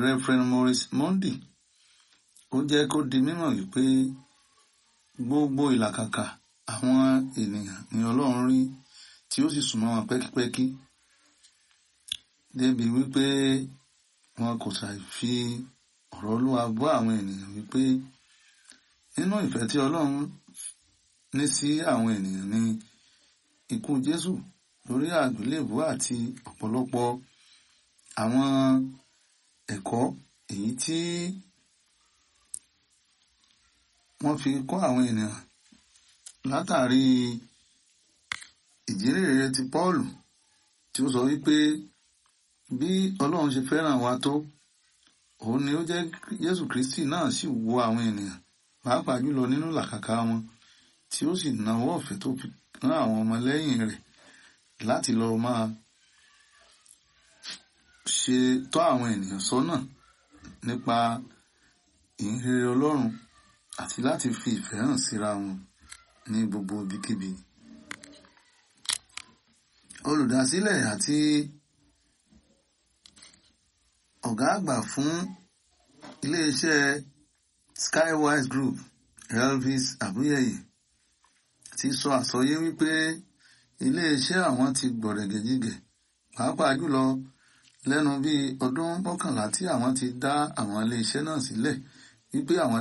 Reverend Maurice Monday, ó jẹ́ kó di mímọ̀ wípé gbogbo ìlàkàkà àwọn ènìyàn ni Ọlọ́run rí tí ó sì súnmọ́ wọn pẹ́kípẹ́kí, débi wípé wọn kò ṣàì fi ọ̀rọ̀ Olúwa bọ́ àwọn ènìyàn wípé nínú ìfẹ́ tí Ọlọ́run ní sí àwọn ènìyàn ni ikú Jésù lórí àgbélébùú àti ọ̀pọ̀lọpọ̀ àwọn ẹ̀kọ́ èyí tí wọ́n fi kọ́ àwọn ènìyàn látàrí ìjírèrè ti Pọ́ọ̀lù tí ó sọ wípé bí Ọlọ́run ṣe fẹ́ràn wa tó, òun ni ó jẹ́ Jésù Kristi náà sì wo àwọn ènìyàn pàápàá jùlọ nínú làkàkà wọn, tí ó sì nawọ́ ọ̀fẹ́ tó fi rán àwọn ọmọlẹ́yìn rẹ̀ láti lọ máa ṣe tọ́ àwọn ènìyàn sọ́nà nípa ìhìnrere Ọlọ́run àti láti fi ìfẹ́ hàn síra wọn ní gbogbo ibikíbi. Olùdásílẹ̀ àti ọ̀gá àgbà fún iléeṣẹ́ Skywise Group, Elvis Abuyeye, ti sọ àsọyé wípé iléeṣẹ́ àwọn ti gbọ̀rẹ̀gẹ̀jigẹ̀ pàápàá jùlọ lẹ́nu bíi ọdún 11 tí àwọn ti dá àwọn iléeṣẹ́ náà sílẹ̀, wípé àwọn